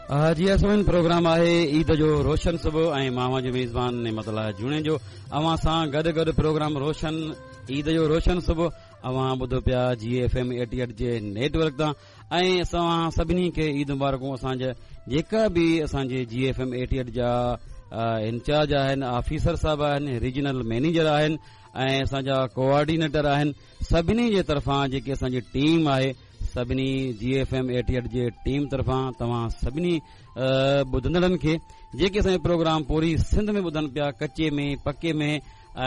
جي سامعين پروگرام آهي عيد جو روشن صبح ۽ مان اوهان جو ميزبان نعمت الله جوڻيجو اوهان سان گڏ گڏ پروگرام روشن عيد جو روشن صبح اوهان ٻڌو پيا جي ايف ايم 88 جي نيٽ ورڪ تان ۽ اسان سڀني کي عيد مبارڪون اسان جا جيڪا به اسان جي جي ايف ايم 88 جا انچارج آهن آفيسر صاحب آهن ريجنل مينيجر آهن ۽ اسان جا ڪوآرڊينيٽر آهن سڀني جي طرفان جيڪي اسان جي ٽيم آهي سڀني جي ايف ايم 88 جي ٽيم طرفان توهان سڀني ٻڌندڙن کي جيڪي اسان جو پروگرام پوري سنڌ ۾ ٻڌن پيا ڪچي ۾ پڪي ۾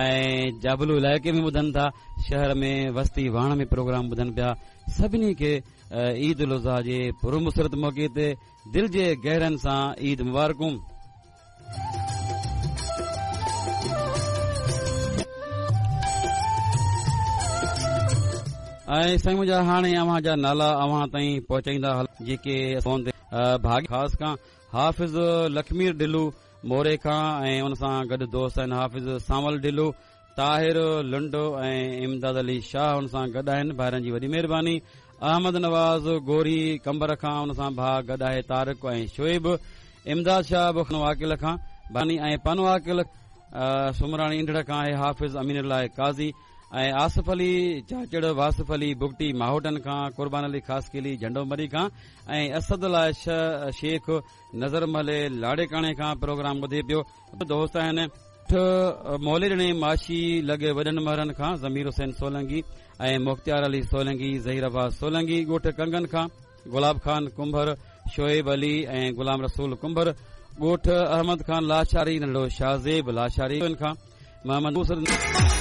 ۽ جابلو علائقي ۾ ٻڌن ٿا شهر ۾ وستي واڻ ۾ پروگرام ٻڌن پيا سڀني کي عيد الاضحيٰ جي پرمسرت موقعي تي دل جي گهرن سان عيد مبارڪون. ۽ سائين منهنجا هاڻي اوهان جا نالا اوهان تائين پهچائيندا هل جيڪي فون تي ڀاڳ خاص کان حافظ لکمير ڍلو موري کان ۽ ان سان گڏ دوست آهن حافظ سانول ڍلو طاهر لنڊ ۽ امداد علي شاهه ان سان گڏ آهن ڀائرن جي وڏي مهرباني احمد نواز گوري قمبر کان ان سان ڀاء گڏ آهي طارق ۽ شعيب امداد شاهه به عاقل کان باني ۽ پنو عاقل سمراڻي انڍڙ کان آهي حافظ امين الله قاضي ۽ آصف علي چاچڙ واصف علي بگٽي ماهوٽن کان قربان علي خاصخيلي جهنڊو مري کان ۽ اسد الله شيخ نظر محلي لاڙيڪاڻي کان پروگرام ٻڌي پيو دوست آهن. ٺ موليڏڻي معاشي لڳ وڏن مهرن کان ضمير حسين سولنگي ۽ مختيار علي سولنگي، ظهير عباس سولنگي ڳوٺ ڪنگن کان گلاب خان ڪنڀر، شعيب علي ۽ غلام رسول ڪنڀر ڳوٺ احمد خان لاشاري ننڍڙو شاهزيب لاشاري کان محمد.